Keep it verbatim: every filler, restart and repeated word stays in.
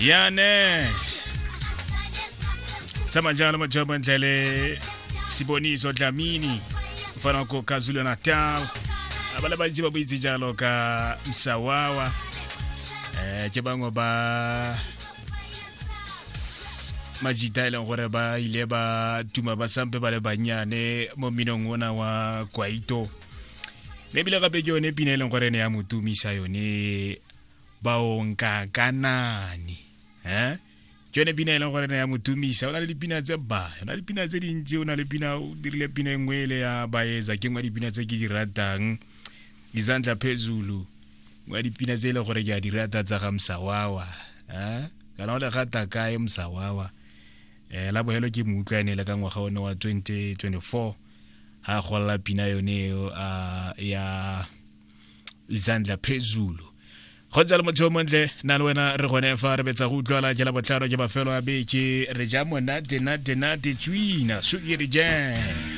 Yane sama njalo majobo ndlele Siboniso Dlamini mfana ko KwaZulu Natal ba le bantsi ba boitse jalo ka Msawawa eh ke bangwe ba majita e leng gore ba ile ba tuma ba sampe ba le bannyane mo mminong ona wa kwaito mme ebile gape ke yone pina e leng gore ne ya mo tumisa yone baonkakanani eh ke yone pina e leng gore ne ya mo tumisa. O na le dipina tse ba o na le dipina tse dintsi, o na le pina, o dirile pina e nngwe ele ya baeza, ke nngwe ya dipina tse ke di ratang, Izandla Phezulu, nngwe ya dipina tse e leng gore ke a di rata tsa ga Msawawa. Eh kana o le gata kae Msawawa? Eh la bohelo ke mo utlwa ene le ka ngwaga one wa twenty twenty-four ha golla pina yone eo ya Izandla Phezulu. Go ntse le motho o montle nna le wena re gone fa re betsa go utlwala ke la botlhano ke mafelo a beke re ja monate nate nate tswina sukiri jam.